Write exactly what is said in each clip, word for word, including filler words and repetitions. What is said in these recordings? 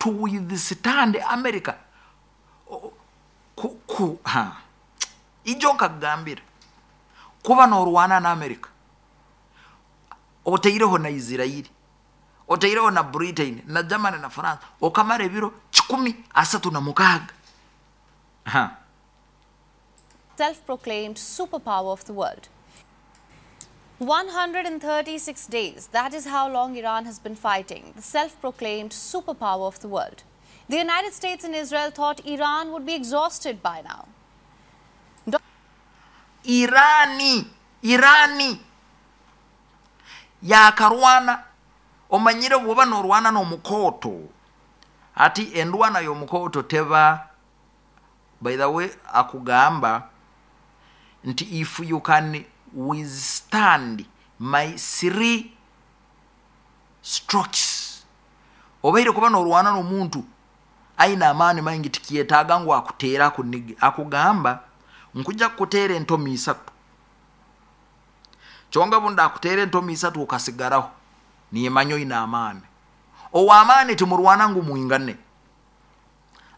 To withstand America, ku, ku, ha. Ijo nkakugambira, kuba norwana na America, oteireho na Israeli, oteireho na Britain na Germany na France, okamara ebiro kikumi asatu na mukaaga. Ha. Self-proclaimed superpower of the world. one hundred thirty-six days, that is how long Iran has been fighting, the self-proclaimed superpower of the world. The United States and Israel thought Iran would be exhausted by now. Irani Irani yakarwana. Omanyire bwoba norwana n'omukooto, ati endwana y'omukooto teba. By the way, akugamba nti, "If you can withstand my three strokes." Obaire kuba norwana n'omuntu aina amaani maingi, tikyetaaga ngu akuteera akunige. Akugamba, "Nkuja kukuteera entomi isatu." Kyonga bundi akuteera entomi isatu okasigaraho, nimanya oina amaani. Ow'amaani timurwana ngu mwingane.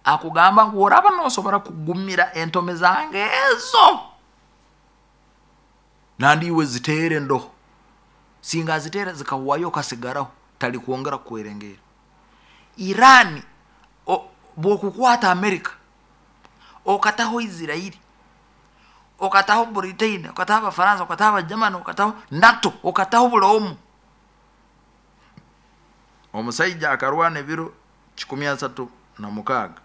Akugamba ngu oraba nosobora kugumira entome zange ezo, nandi iwe ziteere ndoho. Singa ziteera zikahuwayo okasigaraho, tali kwongera kukwerengera. Irani bwokukwata Amerika, okataho Israeli, okataho Britain, okataho Abafaransa, okataho Abagermany, okataho NATO, okataho buli omu, omusaija akarwana ebiro kikumi asatu na mukaaga,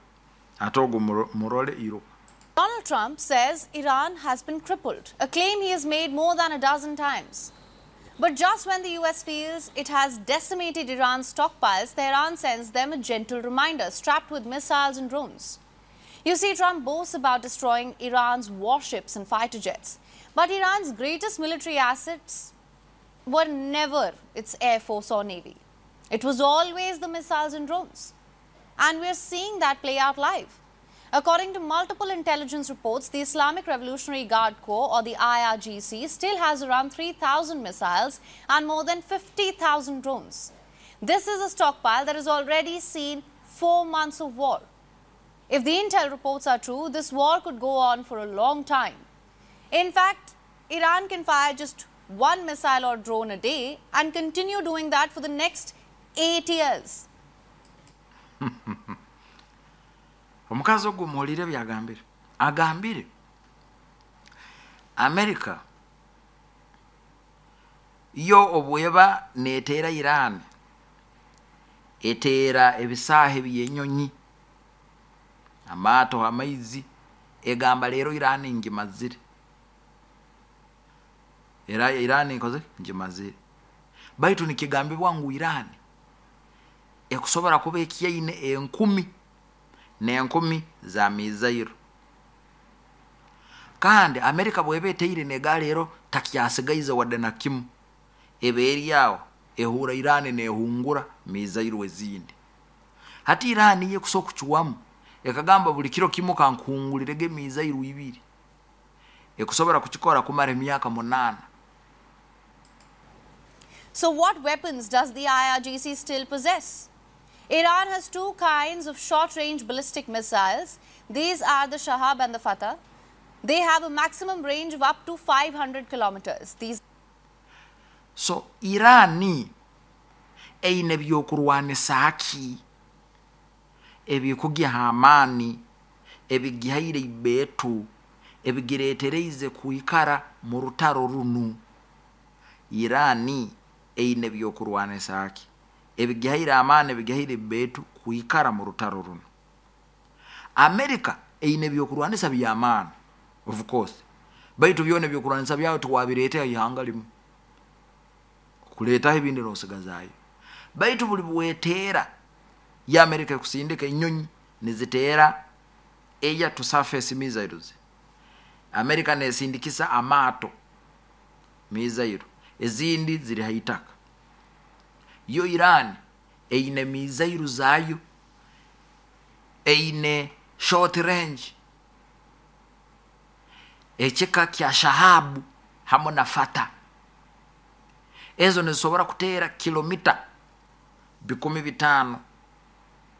ate ogwo murole iruka. Donald Trump says Iran has been crippled, a claim he has made more than a dozen times. But just when the U S feels it has decimated Iran's stockpiles, Tehran sends them a gentle reminder strapped with missiles and drones. You see, Trump boasts about destroying Iran's warships and fighter jets. But Iran's greatest military assets were never its air force or navy. It was always the missiles and drones. And we're seeing that play out live. According to multiple intelligence reports, the Islamic Revolutionary Guard Corps, or the I R G C, still has around three thousand missiles and more than fifty thousand drones. This is a stockpile that has already seen four months of war. If the intel reports are true, this war could go on for a long time. In fact, Iran can fire just one missile or drone a day and continue doing that for the next eight years. Omukazi ogwo muwulire byagambire. Agambire Amerika yo obweba neteera Iran, eteera ebisaaha ebyenyonyi, amaato, amaizi. Egamba, "Leero Iran ngimazire." Era Iran nkoze ngimazire. Baitu nikigambibwa ngu Iran ekusobora kuba ekyaine enkumi n'enkumi za mizairo. Kandi Amerika bweba eteire nega, leero takyasigaize wadde na kimu, eba eri awo ehura Irani nehungura mizairo ezindi. Hati Irani ye kusobola okucuwamu ekagamba, "Buli kiro kimu kankuhungulirege emizairo ibiri," ekusobora kukikora kumara emyaka munaana. So, what weapons does the I R G C still possess? Iran has two kinds of short range ballistic missiles. These are the Shahab and the Fatah. They have a maximum range of up to five hundred kilometers. These So Irani eine byokurwanisa ki ebikugiha amaani, ebigihaire ibeetu, ebigireetereize kwikara mu rutaro runu? Irani eine byokurwanisa ki ebigihaire amaani, ebigihaire ibeetu kwikara mu rutaro runo? Amerika eine ebyokurwanisa byamaani, of course, baitu byona ebyokurwanisa byawe tiwabireetera ihanga limu, kuleetaho ebindi nosigazaayo. Baitu buli bweteera ya Amerika ekusindika enyonyi niziteera air to surface missiles, Amerika nesindikisa amaato missile, ezindi ziri haitaka. Yo Iran eine missile zayo, eine short range ekika kya Shahabu hamwe na Fata. Ezo nizisobora kuteera kilomita bikumi bitaano.